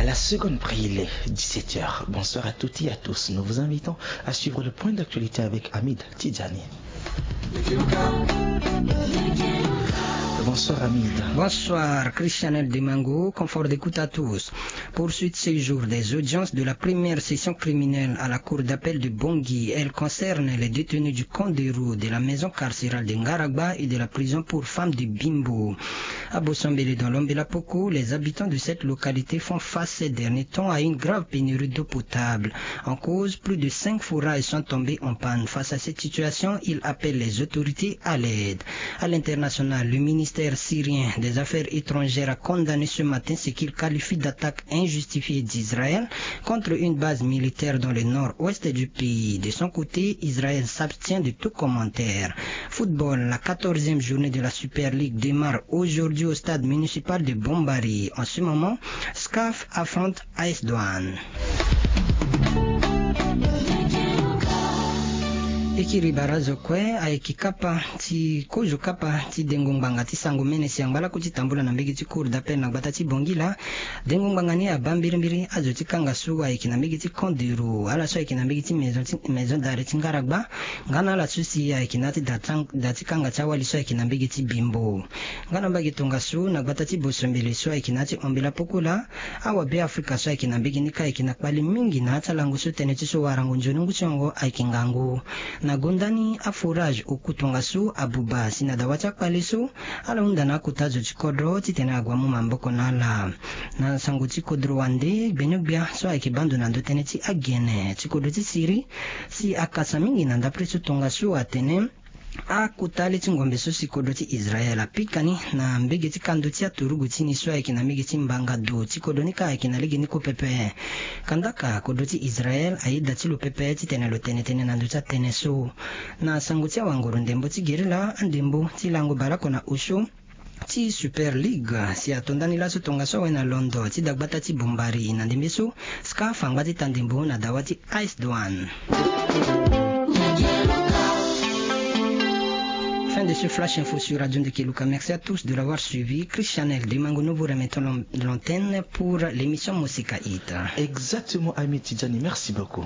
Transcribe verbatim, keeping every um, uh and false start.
La seconde prise, il est dix-sept heures. Bonsoir à toutes et à tous. Nous vous invitons à suivre le point d'actualité avec Hamid Tidjani. Bonsoir Hamid. Bonsoir Christianel Demango, confort d'écoute à tous. Poursuite ce jour des audiences de la première session criminelle à la cour d'appel de Bangui. Elle concerne les détenus du camp de Roux, de la maison carcérale de Ngaragba et de la prison pour femmes de Bimbo. À Bosombele, dans l'Ombela Poko, les habitants de cette localité font face ces derniers temps à une grave pénurie d'eau potable. En cause, plus de cinq forages sont tombés en panne. Face à cette situation, ils appellent les autorités à l'aide. À l'international, le ministère syrien des Affaires étrangères a condamné ce matin ce qu'il qualifie d'attaque injustifiée d'Israël contre une base militaire dans le nord-ouest du pays. De son côté, Israël s'abstient de tout commentaire. Football, la quatorzième journée de la Super League démarre aujourd'hui au stade municipal de Bombari. En ce moment, SCAF affronte AS Douane. E kiri barazo kue ayeke kapa ti kozo kapa ti dengo ngbanga ti sango mene si angba laku ti tambula na mbege ti cour d'appel na gbata ti Bangui laa. Dengo ngbanga ni abaa mbirimbiri azo ti kanga so ayeke na mbege ti camp de Roux, ala so ayeke na mbege ti maison ti maison d'arrêt ti Ngaragba, nga na ala so si ayeke na ya ti da ti kanga ti awali so ayeke na mbege ti Bimbo. Nga na mbage tongaso na gbata ti Bosombele so ayeke na ya ti Ombela Poko laa, awabe Afrika so ayeke na mbege ni kâ ayeke na kpale mingi na ya ti alango so tënë ti so warango nzoni ngu ti hongo ayeke ngangu. Na gonda ni aforage oku tongaso abuba si na dawa ti akpale so ala hunda na akota zo ti kodro titene agua mu maboko na ala. Na sango ti kodro wande gbeni-gbia so ayeke baa ndo na ndo tënë ti agene ti kodro ti Syrie si akasa mingi na ndapre so tongaso atene akota le ti ngombe so si kodro ti Israel apika ni na mbege ti kando ti aturugu ti ni so ayeke na mbege ti mbanga do ti kodro ni kâ ayeke na lege ni kue pepe. Kandaka kodro ti Israel ayeda ti lo pepe titene lo tene tënë na ndö ti atënë so. Na sango ti awanguru ndembo ti gerila, andembo ti lango baleoko na osio ti Super League si ato ndani laso tongaso awe na londo ti dagbata ti Bombari na ndembe so. SCAF angba ti ta ndembo na dawa ti AS Douane. Fin de ce flash info sur Radio Ndekeluka. Merci à tous de l'avoir suivi. Christianel Demangono vous remettons l'antenne pour l'émission Mosika Hit. Exactement, Ami Tidjani, merci beaucoup.